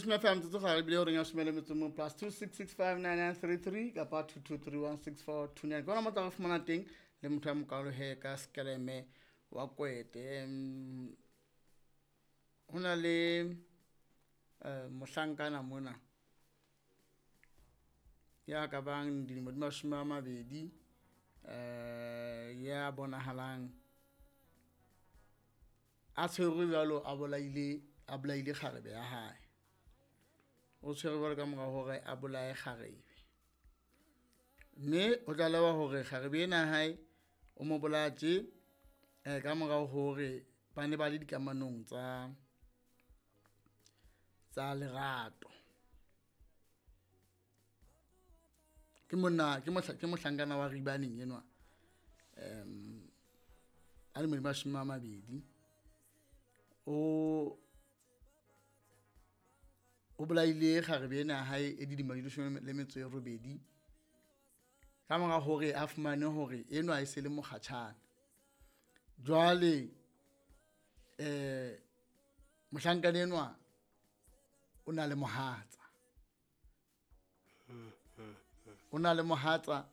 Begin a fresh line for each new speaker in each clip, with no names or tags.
Leshome fela metsotso gare ebile horeng ya leshome le metso mong plus 26659933 kapa 22316429 ke ona mo tla re fumana teng le motho ya mokalo he ka skeleme wa kwete. Ho na le mohlankana mona ya ka bang dilemo di 20, ya bonahalang a tshwerwe jwalo, a bolaile kgarebe ya hae. O tshwerwe jwalo ka mora hore a bolaye kgarebe, mme o tlalewa hore kgarebe ena ya hae o mo bolaya tje ka mora hore ba ne ba le dikamanong tsa lerato. Ke monna ke mohlankana wa Ribaneng enwa, a lemo di 20. O bolaile kgarebe ena ya hae e dilemo di 18 ka mora hore a fumane hore enwa e se le mokgatjhane. Jwale mohlankana enwa o na le mohatsa, o na le mohatsa,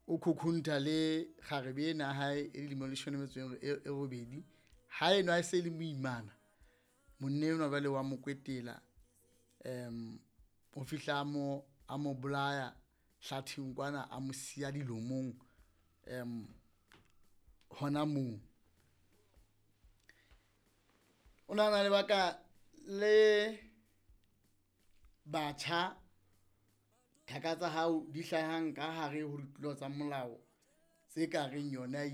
o khukhuntha le kgarebe ena ya hae e dilemo di 18. Ha enwa e se le moimana, monna enwa jwale wa mo kwetela, o fihla a mo bolaya hlatheng kwana, a mo siya dilomong hona moo. O nahana lebaka le batjha thaka tsa hao di hlahang ka hare ho ditulo tsa molao tse ka reng yona?